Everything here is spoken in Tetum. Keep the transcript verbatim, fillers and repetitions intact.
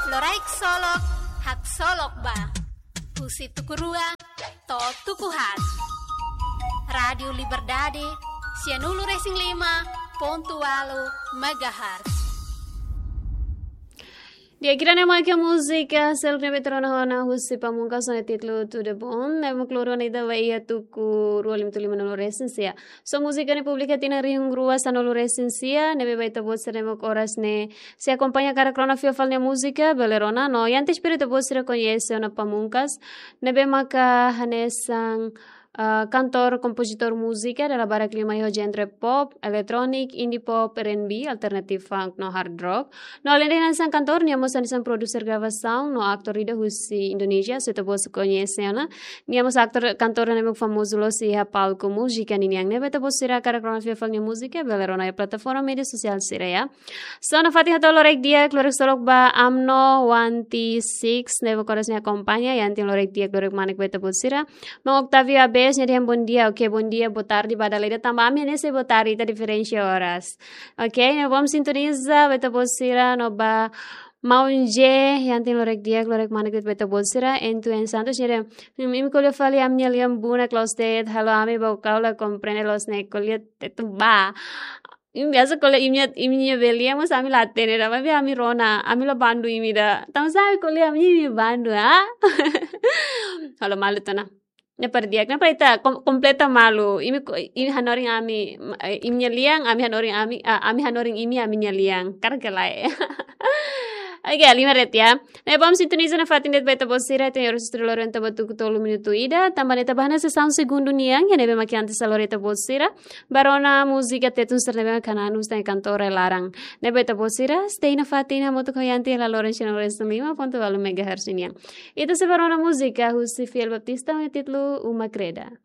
Loraik Solok, Haksolok Ba. Husi tuku rua to'o tuku haat. Rádiu Liberdade, sianulu-resin-lima pontu ualu megahertz. Di'ak, ida-ne'e mak múzika seluk ne'ebé tuur ona husi Pamungkas ho títulu Tudo Bom, ne'ebé mak lori ona ita ba iha tuku rua lima tolu lima nulu resin sia. So múzika ne'e publika tinan rihun rua sanulu resin sia, ne'ebé ba ita-boot sira ne'ebé mak oras ne'e sei akompaña karik rona fila fali nia múzika, bele rona. No, iha antes para ita-boot sira koñese ona Pamungkas, ne'ebé maka hanesan, ah, kantór, kompozitór múzika, dala barak liu mai ho genre pop, electronic, indie pop, R and B, alternative funk, no hard rock. No, aleinde hanesan kantór, nia mós hanesan produser gravasaun, no aktór ida husi Indonézia, se ita-boot sira koñese ona. Nia mós aktór, kantór ne'ebé famozu loos iha palku múzika ninian, ne'ebé ita-boot sira karik rona fila fali nia múzika, bele rona iha plataforma média sosiál sira, ya. So, nafatin hato'o loraik di'ak, loraik solok ba Amno One T six, ne'ebé mak oras ne'e akompaña, iha antes loraik di'ak, loraik manek ba ita-boot sira. Maun Octavio Abes, nia dehan bom dia, oke, bom dia, boa tarde ba dala ida, tanba ami hanesan boa tarde, ita diferensia oras. Oke, ne'e vamos sintoniza, ba ita-boot sira, no ba Maun J, iha antes loraik di'ak, loraik manek ba ita-boot sira, N two N Santos, nia dehan, "Hmm, imi ko'alia fali ami-nia lian bunak loos de'it, halo ami ba kau la komprende loos ne'e ko'alia Tetun ba." Imi biasa ko'alia imi-nia, imi-nia be lian mós ami la hatene ida, maibé ami rona, ami la bandu imi ida. Tanba sá imi ko'alia ami, imi bandu, ah? Halo malu tiha ona. Ne'e para di'ak, ne'e para ita kom-, kompleta malu. Imi ko-, imi hanorin ami, eh, imi-nia lian, ami hanorin ami, ah, ami hanorin imi, ami-nia lian. Karik ka lae. Oke, lima ret ya. Ne'e vamos sintoniza nafatin de'it ba ita-boot sira, ita-nia oras estrela ita ba tuku tolu minutu ida, tanba ne'e ita ba hanesan segundu nian, iha ne'ebé mak iha antes halo ita-boot sira ba rona múzika Tetun sira ne'ebé mak hanesan husi kantór iha laran. Ne'e ba ita-boot sira, stay nafatin hamutuk ho iha antes halo sianulu-resin-lima pontu ualu megahertz nian. Ita sei ba rona múzika husi Fiel Baptista, ho títulu Uma Kreda.